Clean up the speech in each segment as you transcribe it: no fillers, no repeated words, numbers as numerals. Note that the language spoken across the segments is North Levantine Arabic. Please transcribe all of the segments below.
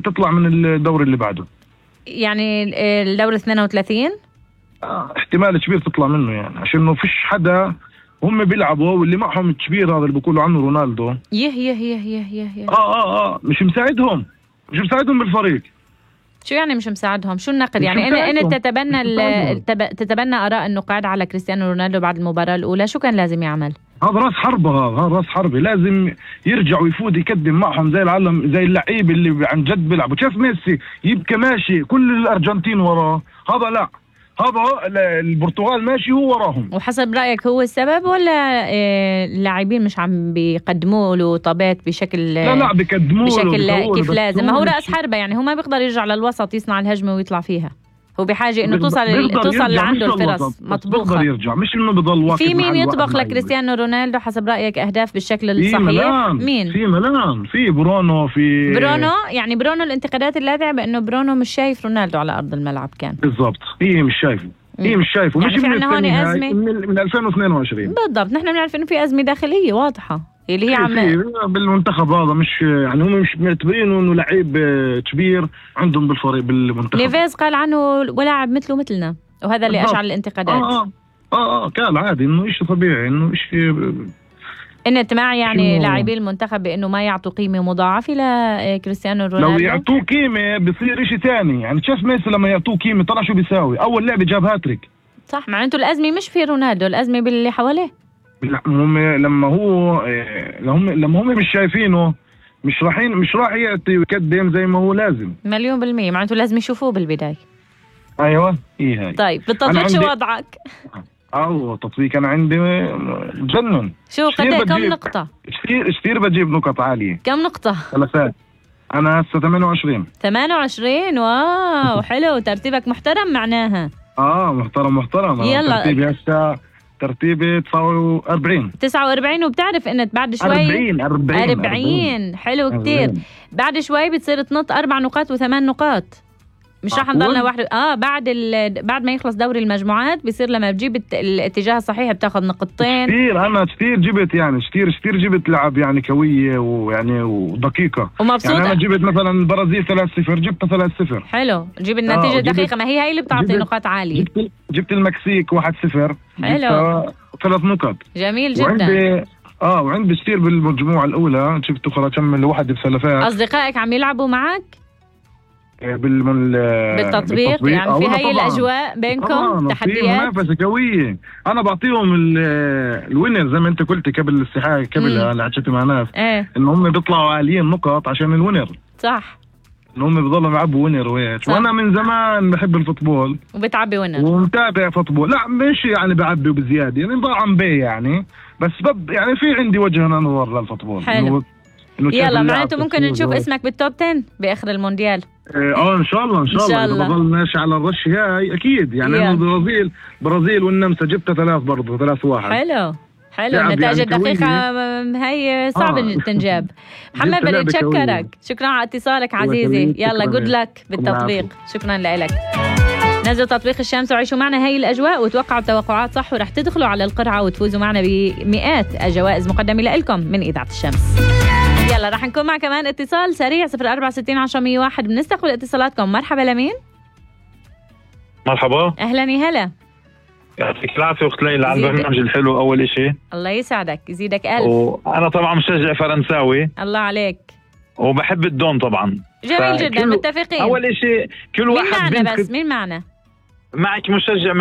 تطلع من الدور اللي بعده. يعني الدور 32 احتمال كبير تطلع منه، يعني عشان ما فيش حدا هم بيلعبوا واللي معهم الكبير هذا اللي بيقولوا عنه رونالدو. يه مش مساعدهم بالفريق. شو يعني مش مساعدهم؟ شو النقد؟ يعني أنت تتبنى آراء النقاد على كريستيانو رونالدو بعد المباراة الأولى، شو كان لازم يعمل؟ هذا راس حربة لازم يرجع ويفوت يقدم معهم زي العالم، زي اللعيب اللي عن جد بيلعبوا. شاف ميسي يبقى ماشي كل الأرجنتين وراه، هذا لا، هذا البرتغال ماشي هو وراهم. وحسب رأيك هو السبب ولا اللاعبين مش عم بيقدموا له طابات بشكل لا بيقدموا بشكل كيف لازم؟ ما هو رأس حربة، يعني هو ما بيقدر يرجع للوسط يصنع الهجمة ويطلع فيها، هو بحاجة انه توصل لعنده الفرص مطبوخة. بيقدر يرجع، مش انه بضل واقف. في مين يطبخ لكريستيانو رونالدو حسب رأيك اهداف بالشكل الصحيح؟ مين؟ في ملان، في برونو، يعني برونو الانتقادات اللاذعة بانه برونو مش شايف رونالدو على ارض الملعب كان. بالضبط، هي مش شايفه مش يعني من هون أزمة من 2022 بالضبط. نحن بنعرف انه في أزمة داخلية واضحة اللي هي بالمنتخب هذا، مش يعني هم مش معتبرينه انه لعيب كبير عندهم بالفريق بالمنتخب. نيفيز قال عنه ولاعب مثله مثلنا، وهذا اللي اشعل الانتقادات. كان عادي انه شيء طبيعي، انه شيء انت معي يعني لاعبي المنتخب بانه ما يعطوا قيمه مضاعفه لكريستيانو رونالدو. لو يعطوه قيمه بصير شيء ثاني. يعني شاف ميسي لما يعطوه قيمه طلع شو بيساوي؟ اول لعبه جاب هاتريك. صح، معناته الازمه مش في رونالدو، الازمه باللي حواليه. هم لما هم مش شايفينه، مش راح يقدم زي ما هو لازم. 100%. معناته لازم يشوفوه بالبداية. ايوه هي هاي. طيب بالتطبيق شو وضعك؟ تطبيق انا عندي جنن. شو كم نقطة؟ كثير بجيب نقط عالية. كم نقطة؟ 3. انا هسه 28. واو حلو، ترتيبك محترم معناها. محترم. يلا ترتيبي 49. وبتعرف انك بعد شوي 40 حلو كتير. بعد شوي بتصير تنط 4 نقاط و8 نقاط، مش راح نضلنا واحد. بعد ما يخلص دوري المجموعات بيصير لما بتجيب الاتجاه الصحيح بتاخذ نقطتين. انا كثير جبت، يعني كثير جبت لعب يعني قويه ويعني ودقيقه ومبسوطه. يعني انا جبت مثلا البرازيل 3-0 جبتها 3-0. حلو، جيب النتيجه دقيقه، ما هي اللي بتعطي نقاط عاليه. جبت المكسيك 1-0 حلو، 3 نقط. جميل جدا. وعندي كثير بالمجموعه الاولى جبت اخرى كمل واحد بسلفات. اصدقائك عم يلعبوا معك بالتطبيق يعني في هاي الأجواء بينكم تحديات؟ منافسة قوية. أنا بعطيهم الوينر زي ما أنت قلت قبل الاستحاء قبلها اللي حكيت مع ناس إن هم بيطلعوا عاليين نقط عشان الوينر. صح، إن هم بيضلوا يلعبوا وينر وهيك. وأنا من زمان بحب الفوتبول وبتعبي وينر ومتابع فوتبول. لا مش يعني بعبي بزيادة، يعني ضاعم بيه يعني، بس يعني في عندي وجه نظر للفوتبول. حلو. يلا معناته ممكن نشوف اسمك بالتوب 10 بآخر المونديال. ان شاء الله إذا بضل ماشي على الرش هاي اكيد. يعني البرازيل والنمسا جبتها 3 برضه 3-1. حلو النتائج الدقيقة هي صعب تنجاب. محمد بدي اتشكرك، شكرا على اتصالك عزيزي. يلا جود لك بالتطبيق. شكرا لك. نزلوا تطبيق الشمس وعيشوا معنا هاي الأجواء وتوقعوا التوقعات صح، ورح تدخلوا على القرعة وتفوزوا معنا بمئات الجوائز مقدمة لكم من إذاعة الشمس. يلا رح نكون مع كمان اتصال سريع 0460 10 101. بنستقبل اتصالاتكم. مرحبا لمين؟ مرحبا، أهلا هلا. يعطيك العافية أخت ليلى على البرنامج الحلو. أول إشي الله يسعدك يزيدك ألف. وأنا طبعا مشجع فرنساوي. الله عليك. وبحب الدون طبعا. جميل جدا، متفقين. أول إشي كل واحد مين معنا مين معنا؟ معك مشجع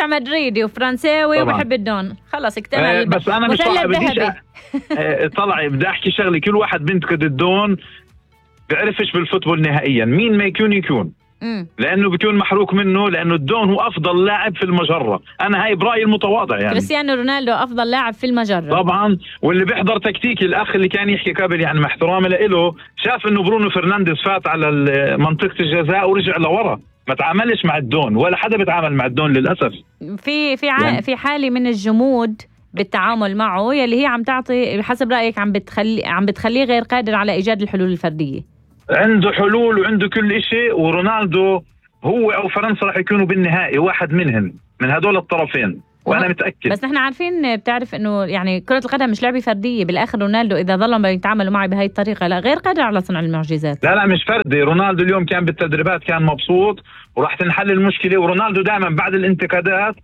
مدريدي وفرنساوي وبحب الدون. خلص اكتمل. بس أنا مش طلع بدي أحكي شغلي. كل واحد بينتقد الدون بيعرفش بالفوتبول نهائيا مين ما يكون لأنه بيكون محروق منه، لأنه الدون هو أفضل لاعب في المجرة. أنا هاي برأيي المتواضع. يعني كريستيانو رونالدو أفضل لاعب في المجرة طبعا. واللي بيحضر تكتيك الأخ اللي كان يحكي قبل، يعني مع احترامي له، شاف إنه برونو فرنانديز فات على منطقة الجزاء ورجع لورا، ما تعاملش مع الدون، ولا حدا بيتعامل مع الدون للأسف. في حالة من الجمود بالتعامل معه، يلي هي عم تعطي بحسب رأيك عم بتخليه غير قادر على إيجاد الحلول الفردية. عنده حلول وعنده كل إشي، ورونالدو هو أو فرنسا رح يكونوا بالنهائي واحد منهم من هدول الطرفين. وانا متاكد. بس نحن عارفين، بتعرف انه يعني كرة القدم مش لعبة فردية. بالاخر رونالدو اذا ظلوا يتعاملوا معي بهاي الطريقة لا غير قادر على صنع المعجزات. لا مش فردي. رونالدو اليوم كان بالتدريبات كان مبسوط وراح تنحل المشكلة. ورونالدو دائما بعد الانتقادات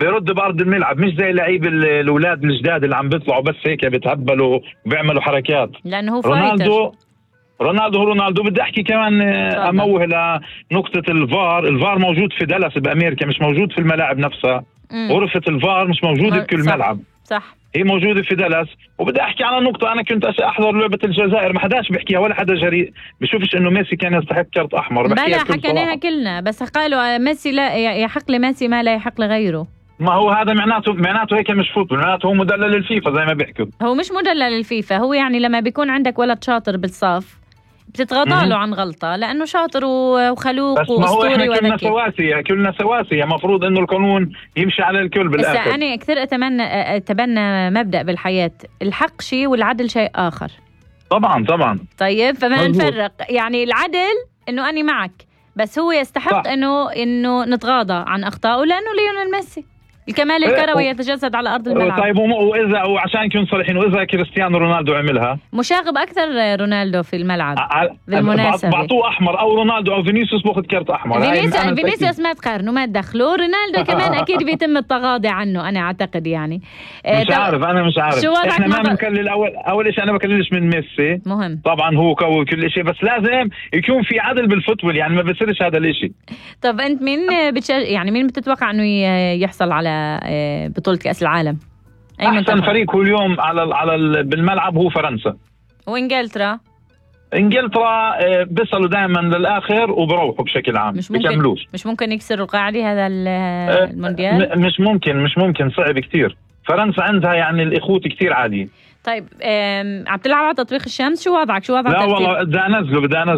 بيرد بارض الملعب، مش زي لعيب الاولاد الجداد اللي عم بيطلعوا بس هيك بيتهبلوا وبيعملوا حركات. لانه هو فايتر. رونالدو بدي احكي كمان اموه لنقطة الفار موجود في دالاس بامريكا، مش موجود في الملاعب نفسها. غرفة الفار مش موجودة بكل ملعب. صح، هي موجودة في دالاس. وبدي احكي على نقطة، انا كنت احضر لعبة الجزائر، ما حداش بيحكيها ولا حدا جريء بشوفش انه ميسي كان يستحق كرت احمر. بلا حكيناها كلنا، بس قالوا ميسي لا يحق لميسي ما لا يحق لغيره. ما هو هذا معناته هيك مش فوتبول، معناته هو مدلل للفيفا زي ما بيحكوا. هو مش مدلل للفيفا، هو يعني لما بيكون عندك ولد شاطر بالصف بتتغاضى له عن غلطة لأنه شاطر وخلوق وأسطوري وذكي. كلنا سواسية، مفروض إنه القانون يمشي على الكل بالآخر. بس أنا كثير أتبنى مبدأ بالحياة، الحق شيء والعدل شيء آخر. طبعا. طيب فما نفرق، يعني العدل إنه أنا معك، بس هو يستحق إنه نتغاضى عن أخطائه لأنه ليونيل ميسي الكمال الكروي يتجسد على أرض الملعب. طيب وإذا وعشان نكون صريحين، وإذا كريستيانو رونالدو عملها مشاغب أكثر رونالدو في الملعب بالمناسبة، بعطوه أحمر أو رونالدو أو فينيسيوس باخذ كرت أحمر. فينيسيوس ما تقارنه ما تدخلوه. رونالدو كمان أكيد بيتم التغاضي عنه أنا أعتقد يعني. مش عارف إحنا ما بنكلل. أول شيء أنا بكللش من ميسي، مهم طبعا هو قوي كل شيء، بس لازم يكون في عدل بالفوتبول، يعني ما بصيرش هذا الشيء. طب أنت يعني مين بتتوقع إنه يحصل على بطولة كأس العالم؟ أحسن فريق هو اليوم بالملعب هو فرنسا وإنجلترا. بيصلوا دائما للآخر وبروحوا بشكل عام، مش ممكن يكسروا القاعدة هذا المونديال. مش ممكن صعب كتير. فرنسا عندها يعني الإخوة كتير عادي. طيب عم تلعب على تطبيق الشمس؟ شو وضعك؟ لا والله بدي انزله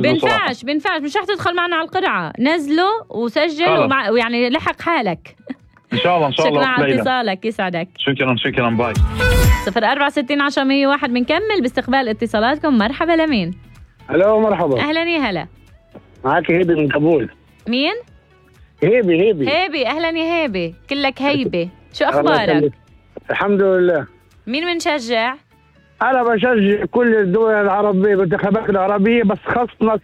بينفعش مش رح تدخل معنا على القرعة. نزله وسجل ويعني لحق حالك ان شاء الله. شكرا على اتصالك، يسعدك. شكرا باي. 064 10 101 بنكمل باستقبال اتصالاتكم. مرحبا لمين؟ الو مرحبا. اهلا يا هلا. معك هيبي من كابول. مين؟ هيبي. اهلا يا هيبي، كلك هيبة. شو اخبارك؟ الحمد لله. مين بنشجع؟ انا بشجع كل الدول العربية بالانتخابات العربية، بس خاصة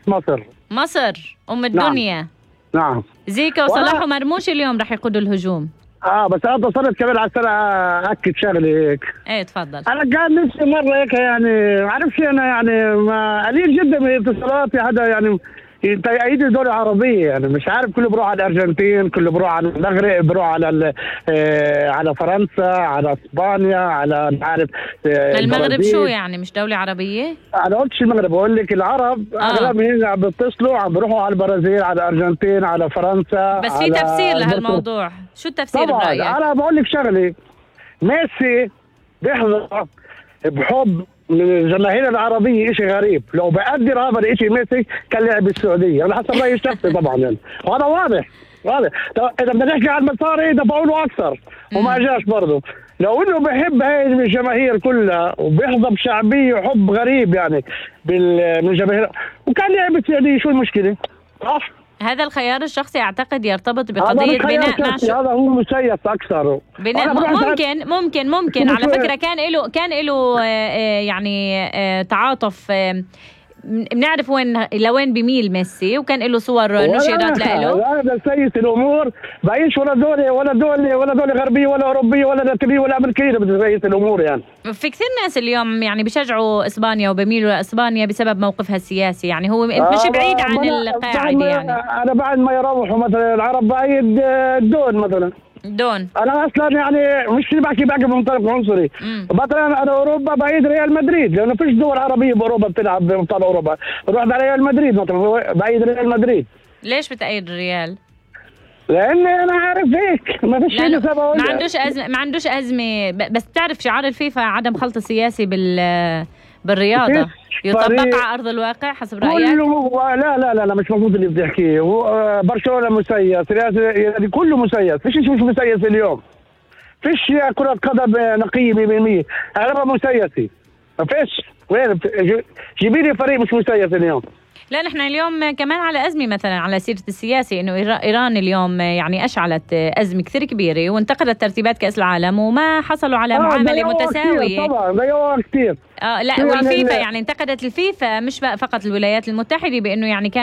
مصر ام الدنيا. نعم. زيكا وصلاح ومرموش اليوم رح يقودوا الهجوم. بس انا اتصلت كمان على السنة اكد شغلة هيك. ايه تفضل. انا كان نفسي مرة هيك يعني عارف انا يعني ما قليل جدا من اتصالاتي حدا يعني يأيد الدول العربية، يعني مش عارف كله بروح على الأرجنتين، كله بروح على المغرب، بروح على فرنسا، على اسبانيا، على عارف المغرب. شو يعني مش دولة عربية؟ انا قلتش المغرب، بقول لك العرب اغلبهم عم بيتصلوا عم بيروحوا على البرازيل، على الأرجنتين، على فرنسا. بس في تفسير لهالموضوع، شو التفسير برأيك؟ انا بقول لك شغلة، ميسي بيحظى بحب من الجماهير العربية شيء غريب. لو بقدر هذا الشيء ميسي كان لعب بالسعودية، على حسب رأيي الشخصي طبعا يعني. وهذا واضح. إذا بدنا نحكي عن المصاري دفعوا له أكثر وما جاش برضه. لو إنه بحب هاي الجماهير كلها وبيحظى بشعبية وحب غريب يعني من الجماهير وكان لعب بالسعودية، شو المشكلة؟ صح؟ هذا الخيار الشخصي أعتقد يرتبط بقضية بناء هذا هو مسيس أكثر. بناء ممكن على فكرة كان له يعني تعاطف. بنعرف لوين بيميل ميسي، وكان له صور نشرت له. هذا سيس الامور، بعيش ولا دولة غربية ولا اوروبية ولا لاتينية ولا امريكية بتسيس الامور يعني. في كثير ناس اليوم يعني بيشجعوا اسبانيا وبيميلوا لاسبانيا بسبب موقفها السياسي، يعني هو مش بعيد عن القاعدة يعني. انا بعد ما يروحوا مثلا العرب بعيد دون مثلا دون. انا اصلا يعني مش بحكي بمنطلق عنصري. مثلا انا اوروبا بعيد ريال مدريد، لانه فيش دول عربيه باوروبا بتلعب بابطال اوروبا. بروح على ريال مدريد مثلا، بعيد ريال مدريد. ليش بتأيد الريال؟ لاني انا عارف هيك ما فيش شيء سبب. ما عندوش ازمه. بس بتعرف شعار الفيفا عدم خلط السياسي بالرياضه يطبق على ارض الواقع حسب رايك؟ لا مش مظبوط اللي بتحكيه. برشلونه مسيس، كله مسيس، فيش شيء مش مسيس اليوم. فيش كره قدم نقيه 100%، اغلبها مسيسي. ما فيش. وين جيبي لي فريق مش مسيس اليوم. لا نحن اليوم كمان على أزمة، مثلا على سيرة السياسة، إنه إيران اليوم يعني أشعلت أزمة كثير كبيرة وانتقدت ترتيبات كأس العالم وما حصلوا على معاملة متساوية. طبعا ضيعوها كثير. لا والفيفا يعني انتقدت الفيفا مش فقط الولايات المتحدة، بأنه يعني كان